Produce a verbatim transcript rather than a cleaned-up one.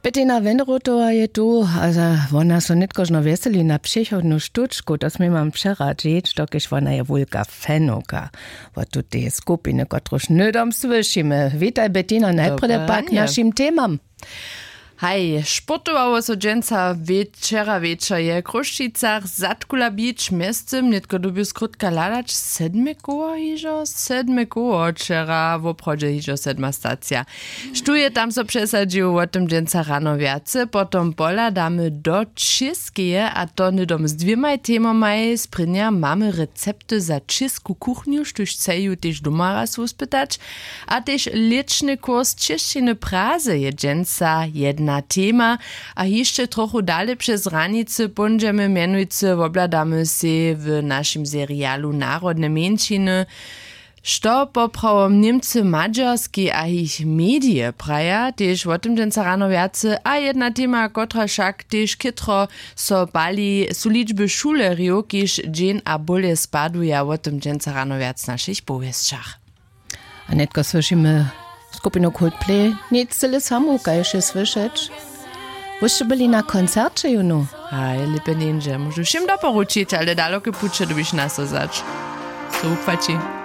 Bettina Wenderotowa je tu a wona so nětkožno wjeseli na přichodnu štučku, to smy mam přeradźić, dokelž wona je wulka fenowka wot tutej skupiny, kotruž hnydom słyšimy. Witaj, Bettina, najprjedy pak k našim temam. Haj, sportowało so dźensa wječera wječor je w Chrósćicach, zadkula bić mjeztym nětko dyrbju skrótka hladać, sedme koło hižo sedme koło wčera woprawdźe hižo sedma stacija. Štó je tam so přesadźił, wo tym dźensa rano wjace, potom pohladamy do čěskeje, a to hnydom z dwěmaj temomaj. Sprěnja mamy recepty za čěsku kuchnju, štóž chceju tež doma raz wuspytać. A tež lěćny kurs čěšćiny prazy je dźensa jedna tema. A hišće trochu dale přez hranicy póńdźemy, mjenujcy wobhladamy sej w našim serialu narodne mjeńšiny, što poprawom Němcy w Madźarskej a jich medije praja, tež wo tym dźensa rano wjace. A jedna tema, kotra wšak tež chětro so pali, su ličby šulerjow, kiž dźeń a bóle spaduja. Wo tym dźensa rano wjac w našich powěsćach. A nětko słyšimy skupinu Coldplay, nic cyle samu kaž je słyšeć. Wyście byli na koncerće jónu? Haj, lěpje njeńdźe, móžu wšěm doporučić, ale daloke puće dyrbiš naso wzać. So wuchwaći.